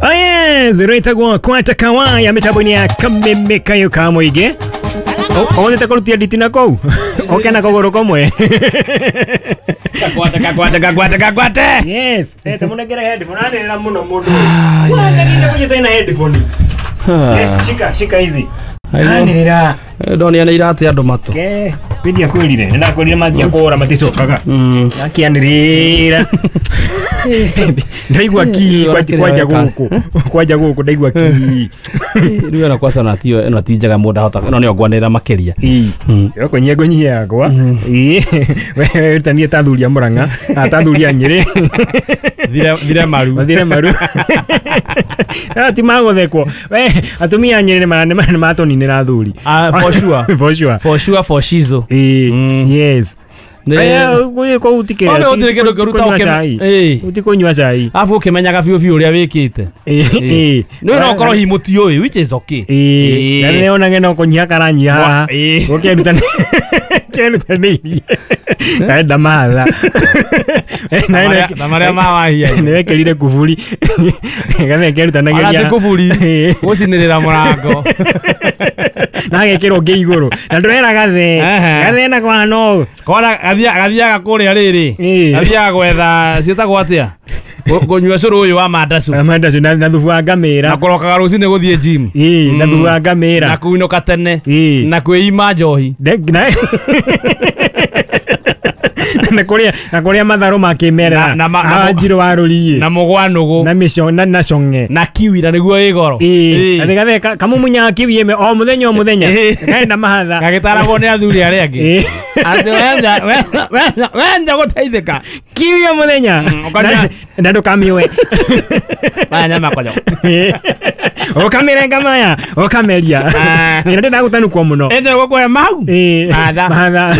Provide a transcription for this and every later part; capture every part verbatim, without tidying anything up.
Oh yes, rwĩtagwo Kwata Kawaya mĩtambo-inĩ ya Kameme Kayo ka Mũingĩ. Onete kũrutia nditi na kũu oke na kũgũrũ kũmwe. Kakwate kakwate kakwate kakwate. Yes, eh tamunengere headphone anĩrĩra mũno mũndũ ũyũ. Wanagire kũnyita na headphone. Eh, shika shika hizi. Anĩrĩra. Ndonia nĩ irate andũ matũ. Eh, pindi akwĩrire, nĩ ndakwĩrire mathia kũra maticokaga. Akĩanĩrĩra. Ndaigua ki kwanja gũkũ. Kwanja gũkũ ndaigua ki. Rĩu ĩno kwaca na tiyo ĩno ti njega mũndũ ahota ĩno nĩyo ngwanĩrĩra makĩria. Ĩĩ. Kũnyia ngũnyia yakwa. Ĩĩ. We tanie ta thuri a Murang'a, ta thuri a Nyĩrĩ. Thire thire maru. Mathire maru. Ah ti magũthekwo. We atumia a Nyĩrĩ nĩ matũninĩra thuri. Ah for sure. For sure. For sure for shizo. Ĩĩ. Yes. Aya kũu ti kĩrĩa. Gũtirĩ kĩndũ kĩũru ta ũkĩ. Ĩĩ. Ũtikũnyua cai. Arabu ũkĩmenyaga biũ biũ ũrĩa wĩkĩte. Ĩĩ. Nĩ no ũkorwo hihi mũtiũĩ which is okay. Ĩĩ. Na nĩ onage no kũnyiha karanyiha haha. Gũkĩerutanĩirie. Kaenda mahatha. Na marĩa mawahia. Nĩ wekĩrire kuburi. Gathe kerutanagĩria. Ona ti kuburi. Gũcinĩrĩra mũrango. Na agekĩrwo ũngĩ igũrũ. Na ndũrera gathe. Gathe na kwa no. Kora gathiaga kũrĩa rĩrĩ. Gathiaga gwetha ciĩtagwo atĩa? Kũnyua cũrũ ũyũ wa mandacu. Mandacu na thubu wa ngamĩra. Na kũrokaga rũcinĩ gũthiĩ gym. Ĩĩ, na thubu wa ngamĩra. Na kũinũka tene. Na kwĩima njohi. Na kũrĩa na kũrĩa matharũ ma kĩmerera. Na njirũ wa rũriĩ. Na mũgwanũgũ. Na mĩco na na cong'e. Na kiwi na nĩguo ĩ goro. Ĩĩ. Atĩ gathe kamũmunyaga kiwi ĩmwe o mũthenya o mũthenya. Kaenda mahatha. Gagĩtaragwo nĩ athuri arĩa angĩ. Atĩ wenda wenda wenda gũteithĩka. Kiwi o mũthenya. Na ndũkamĩoe. Maya nyama konyo. Ũkamĩrenga maya, ũkameria. Nĩ ndĩrenda gũtanukwo mũno. Ĩndĩ gũkũhe mau. Mahatha. Mahatha.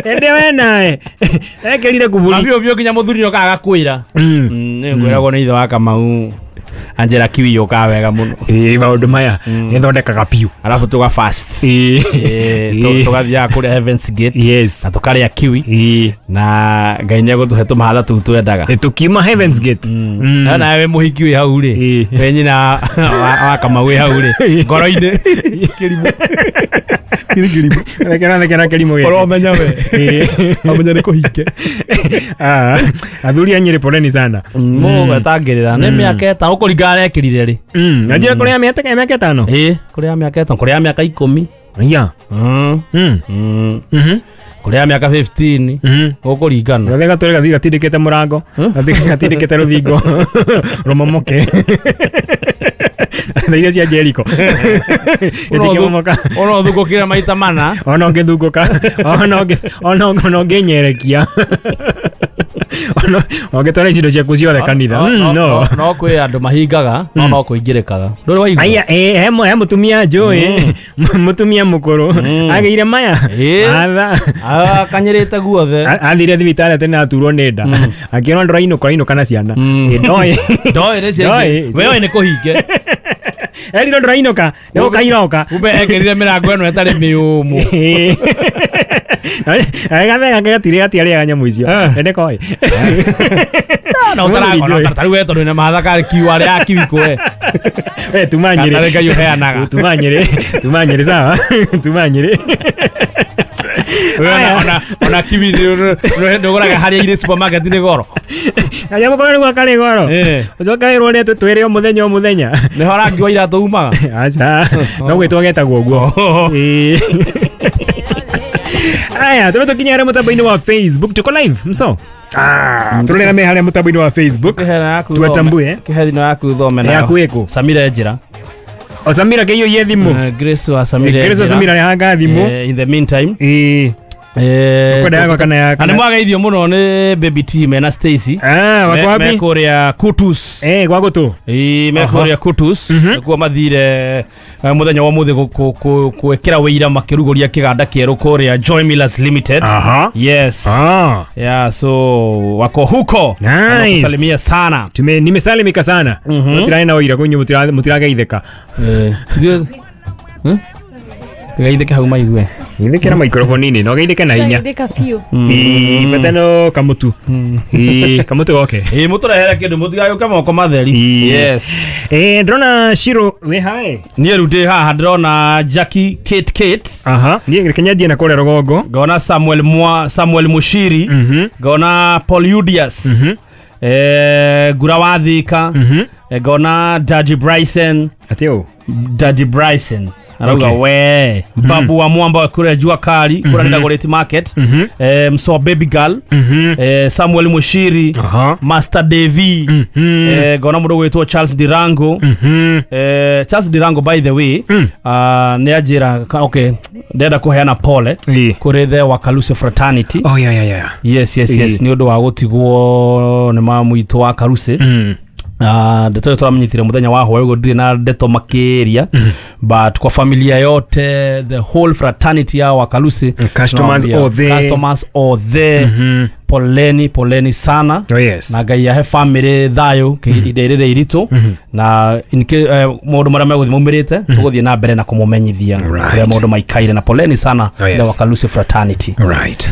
Ĩndĩ we nawe. Ekĩrire kuburi. Na biũ biũ nginya mũthuri nĩokaga agakwĩra. Nĩ ngwĩragwo nĩ ithe wa Kamau. Angela kiwi yũkaga wega mũno. Ĩĩ maũndũ maya nĩthondekaga piũ. Arabu tũga fast. Ĩĩ. Tũgathiaga kũrĩa Heaven's Gate. Yes. Na tũkarĩa kiwi. Ĩĩ. Na Ngai nĩegũtũhe tũmahatha tũu twendaga. Tũkiuma Heaven's Gate. Na nawe mũhiki wĩ hau rĩ. We nyina wa Kamau wĩ hau rĩ. Ngoro-inĩ. Kĩrimũ. Kĩrimũ. Rekera rekera kĩrimũ gĩkĩ. Ũramenya we. Ũramenya nĩ kũhinge. Ah, athuri a Nyĩrĩ poleni sana. Mũgwetangĩrĩra nĩ mĩaka ĩtano ũkũringana na ekĩrire rĩ. Mm, anjia kũrĩa mĩaka mĩaka ĩtano. Ĩĩ, kũrĩa mĩaka ĩtano, kũrĩa mĩaka ikũmi. Yeah. Mm. Mm. Mm. Kũrĩa mĩaka fifteen. Ũkũringana. Gathe gatũre gathiĩ gatindĩkĩte mũrango, gatindĩkĩte rũthingo. Rũmomoke. Na iria cia Jericho. Ĩtikĩmomoka. Ona ũthungũkire maita mana. Ona ũngĩthungũka. Ona ũngĩ ona ona ũngĩnyerekia. Ona ũngĩtwara indo ciaku ciothe kanitha. No. No kwĩ andũ mahingaga, no no kũingĩrĩkaga. Ndũrĩ waigua? Aya, eh he mũtumia njũĩ, mũtumia mũkũrũ. Agĩire maya. Atha. Akanyĩrĩte guothe. Athire thibitarĩ atĩ nĩ aturwo nĩ nda. Akĩrwo ndũrainũka ũrainũka na ciana. Ndoĩ. Ndoĩ nĩ ciana. We oĩ nĩ kũhinge. Eriro ndũrainũka, nĩ gũkairoka. Kumbe ekĩrire mĩrango ĩno ĩtarĩ mĩũmũ. Gathe gake gatirĩ gatiarĩaga nyamũ icio. Ende koĩ. No ũtaragona ta rĩu we tondũ wĩna mahatha karĩ kiu arĩa kiwi kũwe. We tuma Nyĩrĩ. Gatarĩ Ngai ũheanaga. Tuma Nyĩrĩ. Tuma Nyĩrĩ sawa. Tuma Nyĩrĩ. Ona ona ona kiwi ndũgũraga harĩa irĩ supermarket nĩ goro. Kanyamũ kau nĩguo karĩ goro. Ũcoke wĩrwo ũrĩa twĩrĩ o mũthenya o mũthenya. Nĩho rangi wa iratũ umaga. Aca. No gwĩtwo getagwo ũguo. Ĩĩ. Aya, tũrĩ tũkinya harĩa mũtambo-inĩ wa Facebook. Tuko live, mso. Ah, tũrĩ me harĩa mũtambo-inĩ wa Facebook. Tuwatambue. Kĩhe thimũ yaku thome nayo. Yaku ĩkũ? Samira Njĩra. O Samira kĩiyũiye thimũ. Grace wa Samira. Grace wa Samira nĩ thimũ. In the meantime. Ĩĩ. Eh, kwenda yakwa kana ya na nĩ mwageithio mũno nĩ Baby T mena Stacy. Ah, wako wapi? Me kũrĩa Kutus. Eh, gwa gũtũ. Ĩĩ, me kũrĩa Kutus. Nĩkuo mathire mũthenya wa mũthĩ gwĩkĩra wĩira makĩrugũria kĩganda kĩerũ kũrĩa Joy Millers Limited. Aha. Yes. Ah. Yeah, so wako huko. Nice. Wanakusalimia sana. Tume nimesalimika sana. Mutiraĩ na wĩira kũnyũ mutirageithĩka. Eh. Hmm? Geithĩke hau maigue. Geithĩke na microphone-inĩ no geithĩke na hinya. Geithĩka biũ. Ĩĩ bata no kamutu. Ĩĩ kamutu goke. Ĩĩ mũtũrehere kĩndũ mũtigagĩũke moko matheri. Yes. Eh ndĩrona Shiro wĩ hae. Niĩ rĩu ndĩ haha ndĩrona Jackie Kate Kate. Aha. Niĩ reke nyanjie na kũrĩa rũgongo. Ngona Samuel Mwa Samuel Mushiri. Ngona Paul Udius. Eh Gura wa Thika. Ngona Daddy Bryson. Atĩ ũ? Daddy Bryson. Arauga Okay. we babu wa mwamba wa kura jua kali kura mm -hmm. Dagoretti Market mm -hmm. eh, mso baby girl mm -hmm. eh, Samuel Mushiri uh-huh. Master Devi mm -hmm. eh, gona mundu gwitwo Charles Dirango mm -hmm. eh, Charles Dirango by the way mm. uh, ni ajira okay ndenda kuheana pole yeah. kuri the Wakaluse fraternity. Oh yeah yeah yeah. Yes yes yes ni undu wa gutigwo ni mamu itu wa Kaluse mm. Ah, ndeto turamenyithire muthenya wa hwaĩ ũguo ndirĩ na ndeto makiria mm. but kwa familia yote the whole fraternity ya Wakalusi customers othe customers othe mm -hmm. poleni poleni sana. Oh, yes. Na Ngai ahe family thayo ihinda rĩrĩ iritũ mm -hmm. na in eh, maũndũ marĩa megũthiĩ maumĩrĩte mm -hmm. tũgũthiĩ na mbere na kũmũmenyithia Right. ũrĩa maũndũ maikaire na poleni sana. Oh, yes. The Wakalusi fraternity. Right.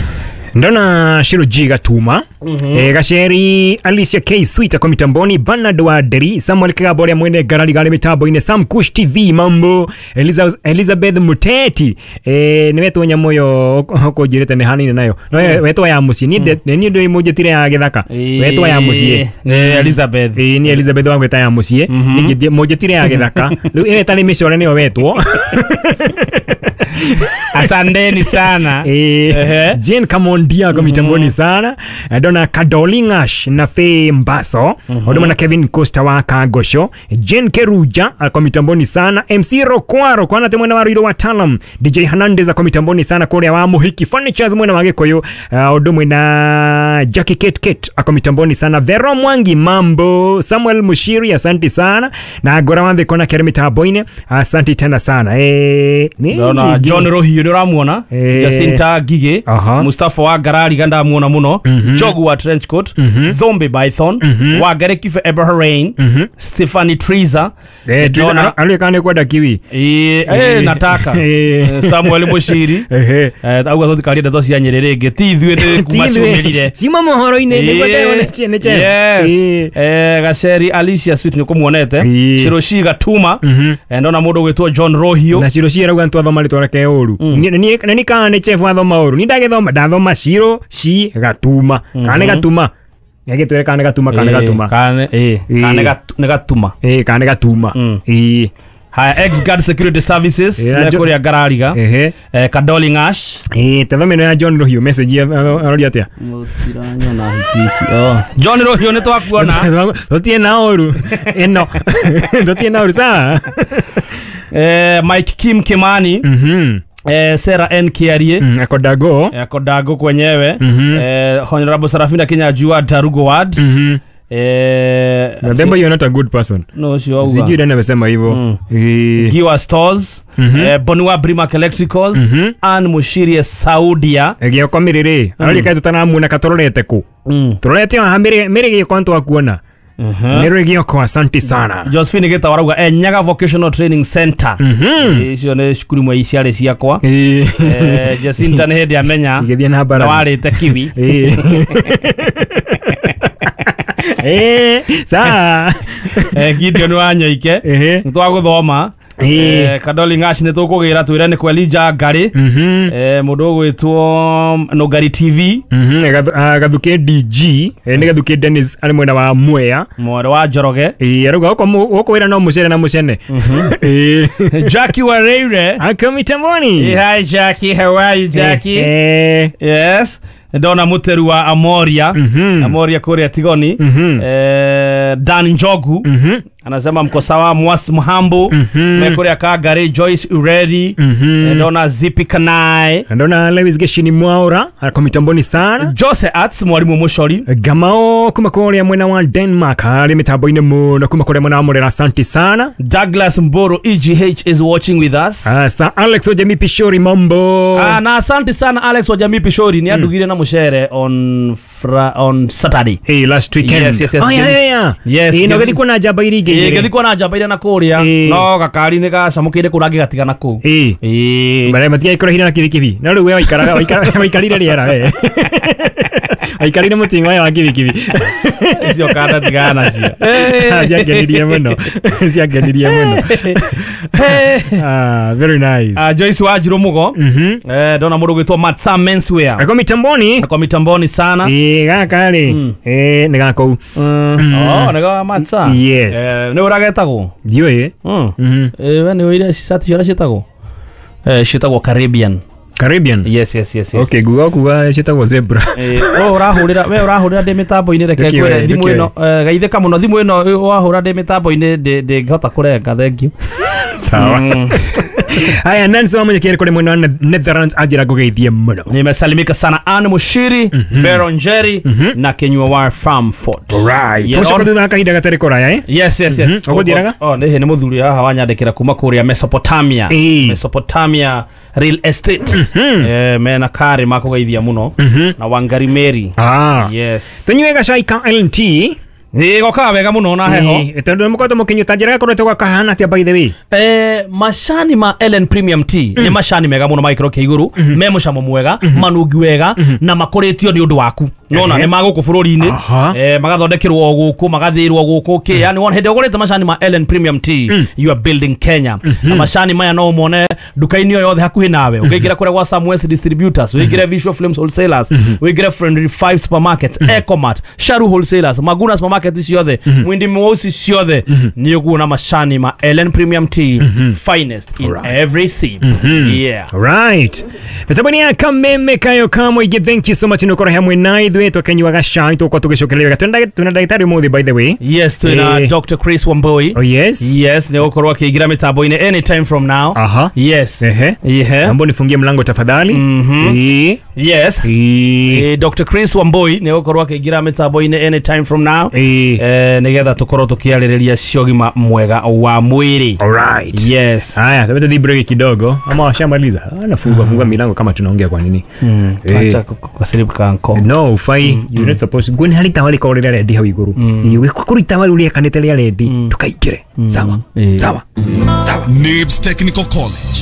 Ndona Shiro G Gatuma mm -hmm. e, Gasheri Alicia K Sweet kwa mitamboni, Bernard wa Deri, Samuel Kigabore mwene garali gale mitambo-inĩ, Sam Kush T V mambo, Eliza, Elizabeth Muteti e, nĩ wetwo nyamoyo ũkũnjĩrĩte nĩ hanini nayo no mm. wetwo ya mũciĩ niĩ mm. niĩ ndĩ mũnjĩtire ya gĩthaka mm. wetwo ya mũciĩ mm. Elizabeth ĩ nĩ Elizabeth wangwĩta ya mũciĩ mm -hmm. mũnjĩtire ya gĩthaka rĩu ĩyo ĩtarĩ mĩcore nĩyo wetwo. Asanteni sana. Eh, Jane Kamondia kwa mitamboni sana. Ndona Kadolingash na Faye Mbaso. Mm -hmm. Kevin Costa wa Kagosho. Jane Keruja kwa mitamboni sana. M C Rokwaro kwa nate mwena wa Ruiru wa Talam. D J Hernandez kwa mitamboni sana kule wa Muhiki Furnitures mwena wa Gikuyu. Uh, mwena Jackie Kate Kate kwa mitamboni sana. Vero Mwangi mambo. Samuel Mushiri asante sana. Na Gora Wanthe kona kere mitamboine asante tena sana. Eh, ni John Rohio nĩ ũramuona eh. Jacinta Gige uh -huh. Mustafa wa Garari ganda muona muno mm -hmm. Jogu wa Trenchcoat mm -hmm. Thombe Python mm -hmm. wa Gare Kife Eberhain mm -hmm. Stephanie Triza eh, Triza aliyekane kwenda kiwi eh, eh, nataka eh. Samuel Mushiri eh eh auga tũtikarie ndeto cia Nyĩrĩ rĩngĩ ti ithuĩ nĩ kuma ciumĩrire cima mohoro-inĩ nĩguo ndĩrona nĩ chema yes eh Gaceri Alicia Sweet nĩkũmuonete Shiroshi Gatuma mm -hmm. ndona mũndũ gwĩtwo John Rohio na Shiroshi arauga nĩtwathoma rĩtwa rĩake ũru Mm. ni ni kana nĩ chef wathoma ũru ni ndagĩthoma ndathoma Shiro shi Gatuma kana nĩ Gatuma nĩagĩtwĩre kana nĩ Gatuma kana nĩ Gatuma kana eh kana nĩ Gatuma eh kana nĩ Gatuma eh haya ex guard security services Eh, me kuria Garariga ehe eh Kadoli Ngash eh tathome ya John Rohio message aroria atia mutiranyona hiki oh John Rohio nĩ twakuona tutie na ũru ĩno tutie na ũru sawa eh Mike Kim Kimani mhm eh Sarah N Kiarie mm, akodago eh, akodago kwenyewe mm -hmm. eh Honorable Sarafina Kinyajua Darugo Ward mm -hmm. eh Remember you're not a good person. No sio auga. Sijui nani amesema hivyo. Mm. Eh Giwa Stores mm -hmm. eh, Bonua Brimac Electricals mm -hmm. Ann Mushirie Saudia Gĩoko mĩrĩrĩ arori kaĩ tũtaramuona katororete kũ mm. tũrorete haha mĩrĩ mĩrĩ gĩoko nĩtwakuona Mhm. mĩrĩ gĩoko asante sana Josephine Gita warauga eh, Nyaga Vocational Training Center Mhm. icio nĩ cukuru imwe ciarĩ ciakwa Eh. eh, Jacinta nĩ hĩndĩ amenya igĩthiĩ na na mbara warĩte kiwi Eh. Eh, sawa eh, Gideon wa Nyoike Ehe. nĩ twagũthoma Eh. eh, Kadoli Ngash nĩ tũkũgĩra twĩre nĩ Kwelija Ngari Mhm. eh, mũndũ ũgwĩtwo Nũngari T V Mhm, Gathu- ah, Gathuke D G eh, nĩ Gathuke Dennis arĩ mwena wa Mwea mwarĩ wa Njoroge Eh, arauga gũkũ mũ- gũkũ wĩra no mũcere na mũcene Eh. Jackie Wareire Ako mitamboni Hi Jackie, how are you Jackie? Eh, Yes ndona muteru wa Amoria Mhm. Amoria kuria Tigoni Mhm. eh, Dan Njogu Mhm. anasema mko sawa Mwas Mhambo Mhm. mekuria Kagari Joyce Ureri Mhm. eh, ndona Zipi Kanai ndona Lewis Geshini Mwaura ako mitamboni sana Jose Arts mwalimu Mushori Gamao kuma kuria mwena wa Denmark arĩ mitambo-inĩ mũno kuma kuria mwena wa Murera asante sana Douglas Mboro E G H is watching with us. Ah, Sir Alex Wajami Pishori mambo Ah, na asante sana Alex Wajami Pishori ni andugire na mushere on fra, on Saturday. Hey, last weekend. Yes, yes, yes. Oh, yeah, yeah, yeah. Yes, Eh, no give- gĩthiĩ kuona njamba iria ingĩ Ĩĩ ngĩthiĩ kuona njamba iria na kũrĩa no gakari nĩ gacamũkĩire kũrĩa ngĩgatigana kũu. Ĩĩ ĩĩ matigaikũrehire na kibikibi no rĩu we waikaraga waikarire rĩera we waikarire mũting'oe wa kibikibi icio kanda tigana nacio. Ciangenirie mũno ciangenirie mũno. Ah, very nice. Ah, Joyce Wanjiru Mugo. Eh, ndona mũndũ ũgwĩtwo Matsa Menswear. Ako mitamboni. Ako mitamboni sana. Eh, gaka rĩ. Eh, nĩ gakũu. Oh, nĩ ga Matsa. Yes. Eh, nĩ ũragetagwo? Ndiũĩ. Mm. Eh, we nĩ ũire shati ciothe ciĩtagwo? Eh, ciĩtagwo Caribbean. Caribbean. Yes, yes, yes, yes. Okay, guga kuga ciĩtagwo zebra. Eh, oh ũrahũrĩra we ũrahũrĩra ndĩ mĩtambo-inĩ reke ngwĩre thimũ ĩno gaithĩka mũno thimũ ĩno wahũra ndĩ mĩtambo-inĩ ndĩngĩhota kũrenga thank you. Sawa. Haya, Nancy Wamũnyekeri kũrĩ mwena wa Netherlands anjĩra ngũgeithie mũno. Nimesalimika sana Anne Mushiri, Vero Njeri na Kinyua wa Farmford. Right. Tũcoka thutha kahinda gatarĩ kũraya eh? Yes, yes, yes. Ũgũthiĩraga? Oh, nĩ nĩ mũthuri haha wanyandĩkĩra kuma kũrĩa Mesopotamia. Mesopotamia Real Estate. Eh, mena kari makũgeithia mũno na Wangari Mary. Ah. Yes. Tũnyue gacai ka L T. Nĩ gokaga wega mũno na heho. Tondũ mũkoretwo mũkĩnyuta njĩra gakoretwo gakahana atĩa by the way? Eh, macani ma Ellen Premium Tea nĩ macani mega mũno ma gĩkĩro kĩa igũrũ, me mũcamo mwega, manungi wega na makũrĩtio nĩ ũndũ waku. Nona nĩ ma gũkũ bũrũri-inĩ, eh, magathondekerwo gũkũ, magathĩrwo gũkũ kĩ. Yani wona hĩndĩ ũgũrĩte macani ma Ellen Premium Tea, you are building Kenya. Na macani maya no ũmone nduka-inĩ o yothe hakuhĩ nawe. Ũngĩingĩra kũrĩa gwa Samwest Distributors, ũingĩre Visual Films Wholesalers, ũingĩre Friendly Five Supermarket, Ecomart, Sharu Wholesalers, Maguna Supermarket ciothe, Mwindi Mweusi ciothe, nĩ ũkuona macani ma Ellen Premium Tea, finest in every sip. Yeah. Right. Mĩtambo-inĩ ya Kameme Kayo Kamũingĩ, thank you so much nĩ ũkorwo hamwe na ithuĩ tũkĩnyuaga cai tũgũkorwo tũgĩcokereria wega. Twĩna ndagĩtarĩ ũmũthĩ by the way. Yes, twĩna Doctor Chris Wambui. Oh yes. Yes, nĩ ũgũkorwo akĩingĩra mĩtambo-inĩ anytime from now. Aha. Yes. Ehe. Ehe. Naomba nifungie mlango tafadhali. Mhm. Yes. Eh, Doctor Chris Wambui nĩ ũgũkorwo akĩingĩra mĩtambo-inĩ anytime from now. Eh, nĩgetha tũkorwo tũkĩarĩrĩria ciogima mwega wa mwĩrĩ. All right. Yes. Haya, tuende break kidogo. Ama washamaliza. Anafunga funga milango kama tunaongea kwa nini? Mm. Acha kukasirika nko. No, ufai you're not supposed to go ni harita wali korera ready hau iguru. Iwe kurita wali uria kanete ria ready tukaingire. Sawa. Sawa. Sawa. Nibs Technical College.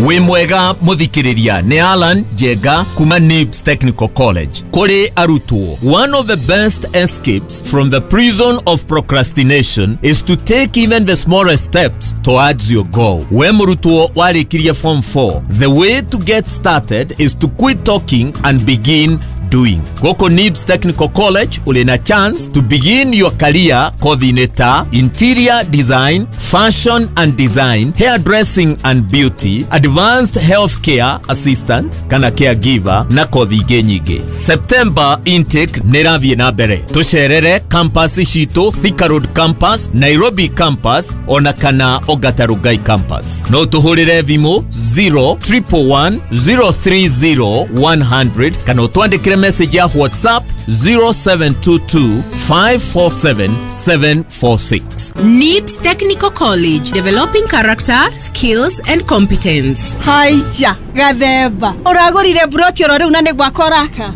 Wĩ mwega mũthikĩrĩria nĩ Alan Njenga kuma Nibs Technical College. Kũrĩ arutwo, one of the best escapes from the prison of procrastination is to take even the smallest steps towards your goal. We mũrutwo warĩkirie form four, the way to get started is to quit talking and begin doing. Goko Nibs Technical College uli na chance to begin your career kothi-inĩ ta interior design, fashion and design, hairdressing and beauty, advanced healthcare assistant kana caregiver na kothi ingĩ nyingĩ. September intake nĩ ĩrathiĩ na mbere. Tũcerere campus citũ Thika Road campus, Nairobi campus ona kana Ongata Rongai campus. No tũhũrĩre thimũ zero triple one zero three zero one hundred kana ũtwandĩkĩre message ya WhatsApp zero seven two two five four seven seven four six. Nibs Technical College, developing character, skills and competence. Haya, gathemba. Ũragũrire broti oro rĩu na nĩ gwakwa ũraka.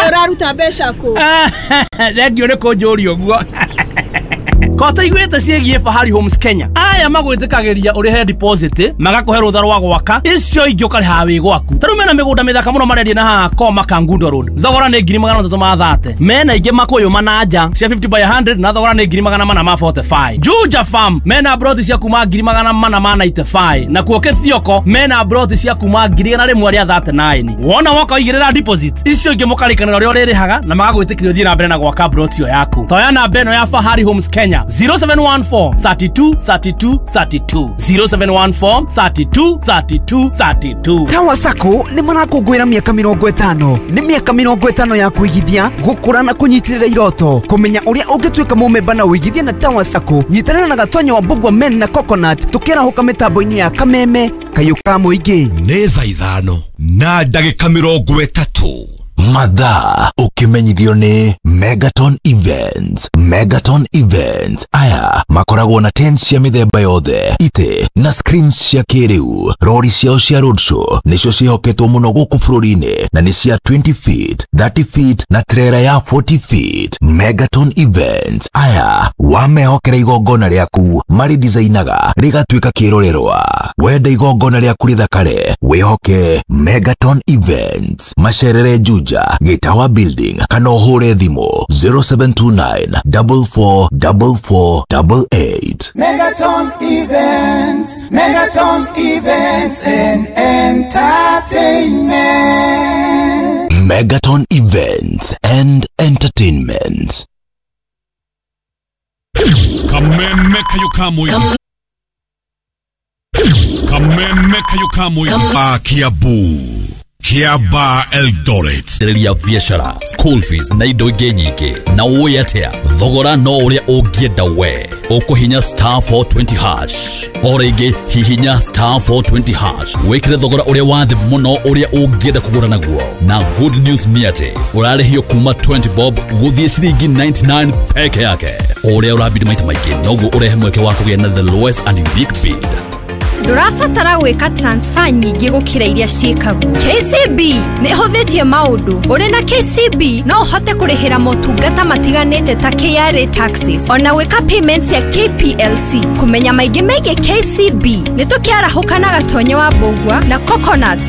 Ũraruta mbeca kũ? Thengiũ nĩ kũnjũria ũguo. Kota iguĩte ciĩgiĩ Fahari Homes Kenya. Aya magwĩtĩkagĩria ũrĩhe deposit, magakũhe rũtha rwa gwaka, icio ingĩ ũkarĩha wĩ gwaku. Ta rĩu mena mĩgũnda mĩthaka mũno marendia na haha Koma Kangundo Road. Thogora nĩ ngiri magana matatũ ma thate. Mena ingĩ Makũyũ Mananja cia fifty by hundred na thogora nĩ ngiri magana mana ma forty-five. Juja Farm mena broti cia kuma ngiri magana mana ma ninety-five. Na kuo Kĩthioko mena broti cia kuma ngiri igana rĩmwe rĩa thirty-nine. Wona woka ũigĩrĩra deposit, icio ingĩ mũkarĩkanĩra ũrĩa ũrĩrĩhaga na magagwĩtĩkĩria ũthiĩ na mbere na gwaka broti ĩyo yaku. Toya namba ĩno ya Fahari Homes Kenya zero seven one four thirty-two thirty-two thirty-two zero seven one four thirty-two thirty-two thirty-two. Tower Sacco nĩ marakũngũĩra mĩaka mĩrongo ĩtano. Nĩ mĩaka mĩrongo ĩtano ya kũigithia, gũkũra na kũnyitĩrĩra iroto. Kũmenya ũrĩa ũngĩtuĩka mũmemba na ũigithie na Tower Sacco, nyitanĩra na Gatonyo wa Mbugua Men na Coconut tũkĩarahũka mĩtambo-inĩ ya Kameme Kayũ ka Mũingĩ. Nĩ thaa ithano na ndagĩka mĩrongo ĩtatũ. Mathaa ũkĩmenyithio nĩ Megaton Events. Megaton Events aya makoragwo na tent cia mĩthemba yothe, itĩ na screens cia kĩrĩu. Rori ciao cia roadshow nĩcio ciĩhoketwo mũno gũkũ bũrũri-inĩ na nĩ cia twenty feet, thirty feet na trailer ya forty feet. Megaton Events aya wamehokera igongona rĩaku marĩdesignaga rĩgatuĩka kĩrorerwa. Wenda igongona rĩaku rĩthakare, wĩhoke Megaton Events. Macerere Juja, Gĩtawa Building, kana ũhũre thimũ zero seven two nine double four double four double eight. Megaton Events, Megaton Events and Entertainment. Megaton Events and Entertainment. Kameme kayo kamwe. Kameme kayo kamwe. Kiambu. Kiaba Eldoret. Ria biashara, school fees na indo ingĩ nyingĩ. Na ũĩ atĩa? Thogora no ũrĩa ũngĩenda we. Ũkũhinya star four twenty hash. O rĩngĩ hihinya star four twenty hash. Wĩkĩre thogora ũrĩa wa thĩ mũno ũrĩa ũngĩenda kũgũra naguo. Na good news nĩ atĩ ũrarĩhio kuma twenty bob gũthiĩ ciringi ninety nine peke yake. O ũrĩa ũrabidi maita maingĩ noguo ũrehe mweke wa kũgĩa na the lowest and unique bid. Ndũrabatara gwĩka transfer nyingĩ gũkĩra iria ciĩkagwo. K C B nĩ ĩhũthĩtie maũndũ. Ũrĩ na K C B no ũhote kũrĩhĩra motungata matiganĩte ta K R A taxes, ona gwĩka payments ya K P L C. Kũmenya maingĩ megiĩ K C B nĩ tũkĩarahũka na Gatonye wa Mbũgua na Coconut.